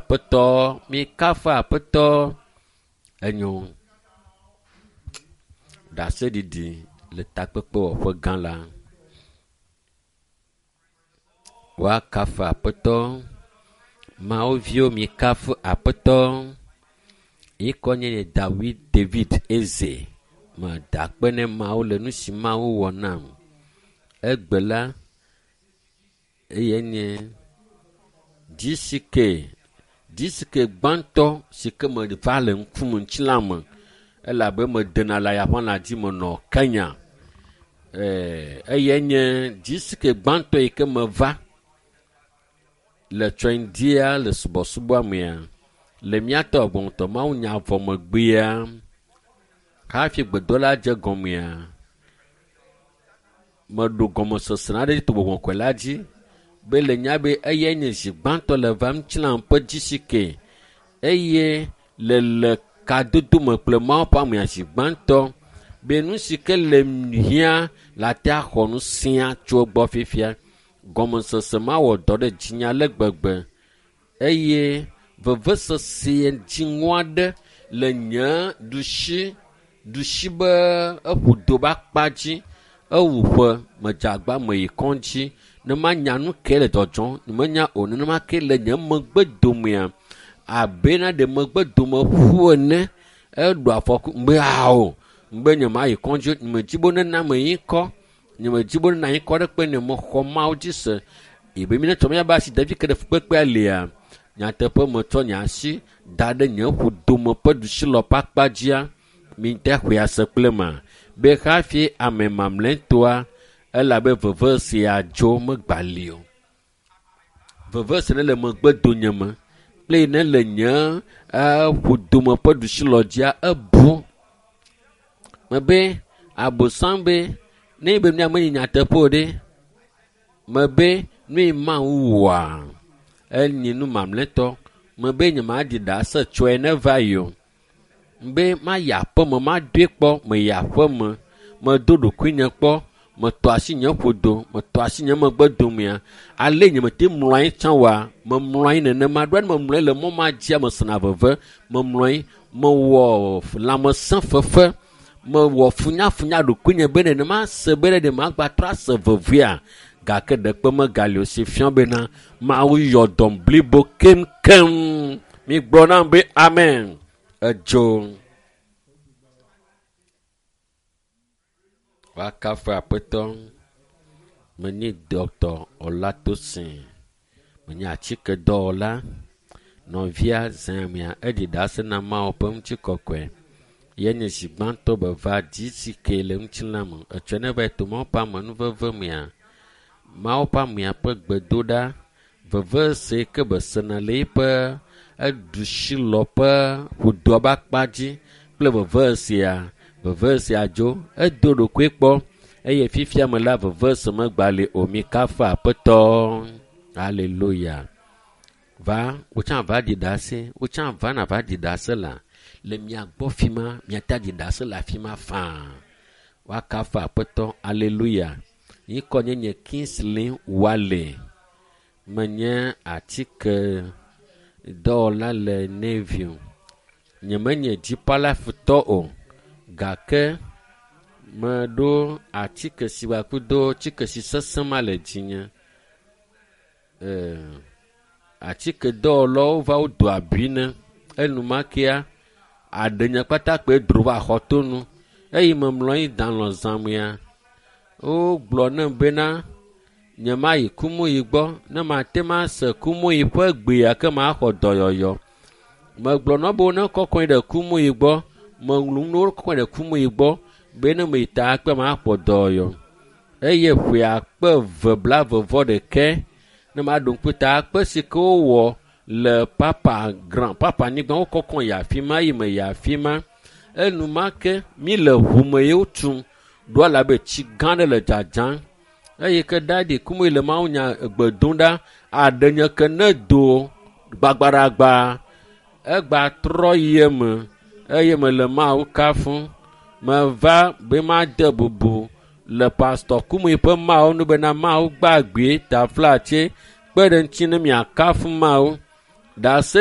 Aƒetɔ, mikafu Aƒetɔ. Enyo. Ɖaseɖiɖi le takpekpewɔƒe gã la. Woakafu Aƒetɔ. Mawu viwo mikafu Aƒetɔ. Yi kɔ nye nye Dawid David Eze. Meda akpe ne Mawu le nu si Mawu wɔ nam. Egbe la, eye nye GCK GCK gbãtɔ si ke meva le ŋkume ŋutilã me elabe medena le ayaƒãla dzi menɔ Kenya. Eye nye GCK gbãtɔ yi ke meva le Tsɔndia le subɔsubɔa mea le míatɔ gbɔ̃tɔ mawunya vɔ megbea hafi gbedola dze gɔmea meɖo gɔmesese aɖe to gbɔgbɔ kɔkɔe la dzi be le nya be eyae nye zi gbãtɔ le va ŋutilã ƒe GCK eye le le kadodo me kple Mawu ƒe amea zi gbãtɔ be nu si ke le hiã la te axɔ nu sia tso egbɔ fifia. Gɔmesese ma wɔ dɔ ɖe dzinye ale gbegbe eye vevesese dziŋɔ aɖe le nye ɖusi ɖusi be eƒo do be akpa dzi ewu ƒe medze agba meyi kɔdzi ne manya nu ke le dzɔdzɔm menya o nenema ke le nye megbe domea abe na ɖe megbe dome ƒu ene eɖo afɔku be ao be nye ma yi kɔdzi o nye medzi be nena me yi kɔ nye medzi be nena yi kɔ ɖe kpe ne mexɔ Mawu dzi se ebe mi ne tsɔ míabe asi ɖevi ke ɖe fukpekpea lia nyateƒe metsɔ nye asi da ɖe nye ƒodome ƒe ɖusi lɔ ƒe akpa dzia mi te xɔe ase kple ma be hafi ame mamlɛtɔa elabe veve sia dzo megbali o. Veve si ne le megbe donye me kple ne le nye ƒodome ƒe ɖusi lɔ dzia ebu. Mebe abosam be ne be nua menye nyateƒe o ɖe mebe nu yi Mawu wɔa enye nu mamlɛtɔ mebe nye maɖi ɖase tsɔe ne va yi o. Be mayi aƒeme madoe kpɔ meyi aƒeme medo ɖokuinye kpɔ metɔ asi nye ƒodo metɔ asi nye megbe domea ale nye mete mlɔ anyi tsã oa memlɔ anyi nenema ɖoa ne memlɔ anyi le mɔ ma dzia mesena veve memlɔ anyi mewɔ lãmesẽ fefe mewɔ funyafunya ɖokuinye be nenema se be ɖe magbatrɔ ase vevea gake ɖekpe megali o si fia bena Mawu yɔ dɔm blibo keŋkeŋ. Migblɔ nam be amen. Edzo. Woakafu Aƒetɔ. Menye Dɔkta Olatosin. Menye atsikedɔwɔla. Nɔvia zãmea eɖi ɖase na Mawu ƒe ŋutikɔkɔe. Ye nye zi gbãtɔ be va GCK le ŋutilã me. Etsɔe ne va yi to Mawu ƒe amenuveve mea, Mawu ƒe amea ƒe gbedoɖa vevese yi ke besena le eƒe eɖusi lɔ ƒe ƒodoa ƒe akpa dzi kple vevesea vevesea dzo edo ɖokui kpɔ eye fifia me la vevese megbali o mikafu Aƒetɔ. Hallelujah. Va wotsã va ɖi ɖase wotsã va na va ɖi ɖase la le mia gbɔ fi ma miate aɖi ɖase le afi ma faa. Woakafu Aƒetɔ. Hallelujah. Yi kɔ nye nye Kingsley Wale. Menye atike dɔwɔla le Navy. Nyemenye dzipalafutɔ o gake meɖo atike si kudo tsike si sesẽ ma le dzinye. Atike dɔwɔlawo va wodo abi ne enumakea aɖe nye kpata kpe dro va xɔtonu eye memlɔ anyi da lɔ zãmea wogblɔ nam bena nye mayi kumuyi gbɔ ne mate ma se kumuyi ƒe gbea ke maxɔ dɔyɔyɔ. Megblɔ na wo be ne kɔkɔe ɖe kumuyi gbɔ meŋlu nu kɔkɔe ɖe kumuyi gbɔ be ne meyi ta kpe maxɔ dɔyɔyɔ. Eye ƒe akpe eve blaeve vɔ ɖeke ne maɖo ŋku ta akpe si ke wowɔ le papa grand papa anyigba wokɔkɔ yi afi ma yi meyi afi ma enumake mi le ʋu me ye wotum ɖo alabe tsi gã ɖe le dzadzam eye ke ɖaɖi kumu le mawunya egbe dom ɖa aɖe nye ke ne do gbagbaɖagba egba trɔ yi eme eye mele Mawu kafum meva be made bubu le pastɔ kumu ƒe Mawu nu bena Mawu gbagbe taflatse kpe ɖe ŋuti ne miakafu Mawu. Ɖase